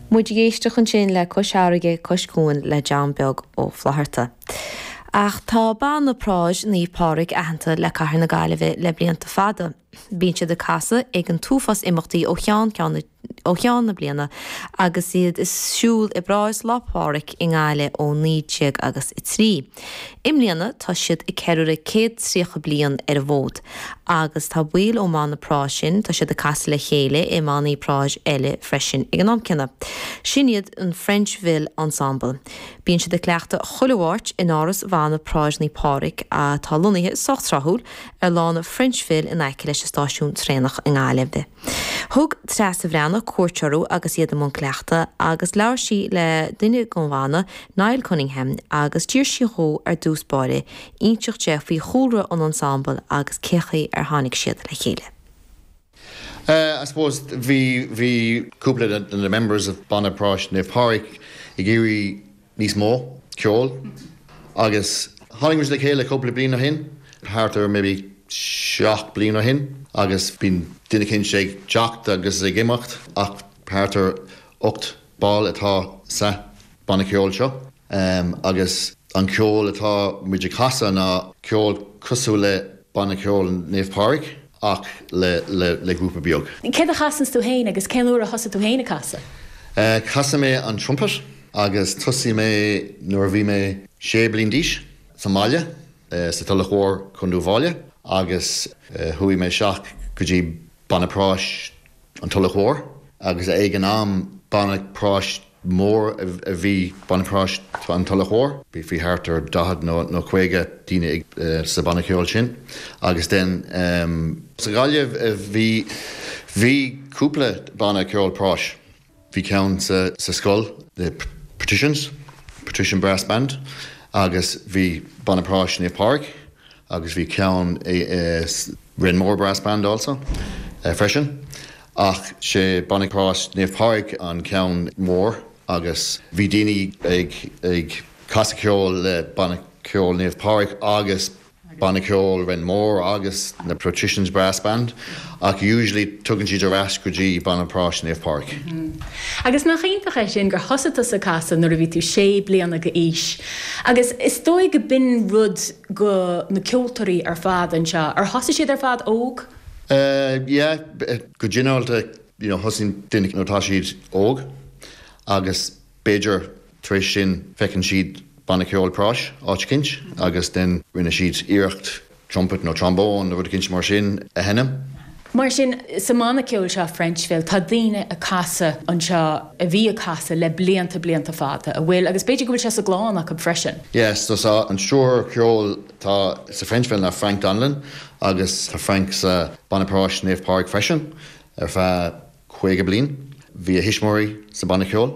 Muid ag éisteacht ansin le Cois Fharraige, Cois Cuain le John Beag Ó Flatharta. Ach tá Banna Práis Naomh Pádraig aitheanta le cathair na Gaillimhe le blianta fada. Bíonn siad ag casadh ag an t-uafás imeachtaí ó cheann ceann na ó cheann na bliana agus iad ag siúl i bParáid Lá Pádraig i nGaillimh ó 19 agus 3. I mbliana tá siad ag ceiliúradh 130 bliain ar an bhfód agus tá baill ón mbanna práis sin, tá siad ag casadh le chéile i mbannaí práis eile freisin ag an am céanna. Sin iad an Frenchville Ensemble. Bíonn siad ag cleachtadh chuile Mháirt in áras Bhanna Práis Naomh Pádraig atá lonnaithe sách tráthúil ar lána Frenchville in aice leis an stáisiún traenach i nGaillimh. Thug Treasa Bhreathnach cuairt orthu agus iad i mbun cleachtaidh agus labhair sí le duine den bhanna, Niall Cunningham, agus d'iarr sí dhó ar dtús báire inseacht di faoi chúlra an ensemble agus cé chaoi ar tháinig siad le chéile. I suppose bhí bhí cúpla de na members of Banna Práis Naomh Pádraig ag iarraidh níos mó ceoil agus tháinig muid le chéile cúpla bliain ó shin, thart ar maybe 7 bliain ó shin agus bíonn duine eicínt ag teacht agus ag imeacht ach thart ar 8 ball atá sa banna ceoil seo agus an ceol atá muid ag casadh ná ceol cosúil le Banna Ceoil Naomh Pádraig ach le le grúpa beag. Céard a chasanns tú féin agus cén uair a thosaigh tú féin ag casadh? Casann mé an trumpet agus thosaigh mé nuair a bhí mé 6 bliain d'aois sa mbaile sa Tulach Mhór, Contae Uíbh Fhailí agus chuaigh mé isteach go dtí Banna Práis an Tulach Mhór agus ag an am banna práis mór a bhí Banna Práis an Tulach Mhór. Bhí thart ar 40 nó 50 daoine sa banna ceoil sin agus then sa Ghaillimh bhí bhí cúpla banna ceoil práis. Bhí ceann sa scoil, the Patricians, Patrician Brass Band agus bhí Banna Práis Naomh Pádraig agus bhí ceann i Renmore Brass Band also freisin. Ach sé Banna Práis Naomh Pádraig an ceann mór agus bhí daoine ag ag casadh ceoil le Banna Ceoil Naomh Pádraig agus Banna Ceoil Renmore agus na Patricians Brass Band ach usually tugann siad ar ais go dtí Banna Práis Naomh Pádraig. Agus nach iontach é sin gur thosaigh tusa ag casadh nuair a bhí tú sé bliana d'aois agus is dóigh go b'in rud go na ceoltóirí ar fad anseo, ar thosaigh siad ar fad óg? Yeah, go ginearálta you know thosaíonn duine nuair atá siad óg agus B'fhéidir tar éis sin feiceann siad banna ceoil práis áit eicínt agus then rinne siad iarracht trumpet nó trombone nó rud eicínt mar sin a sheinm. Mar sin, sa mbanna ceoil seo Frenchville, tá daoine ag casadh anseo a bhí ag casadh le blianta blianta fada, a bhfuil, agus b'fhéidir go bhfuil sé sa gclann acu freisin. Yes, so tá an stiúrthóir ceoil atá sa Frenchville ná Frank Donnellan agus tá Frank sa banna práis Naomh Pádraig freisin ar feadh 50 bliain. Bhí a thuismitheoirí sa banna ceoil.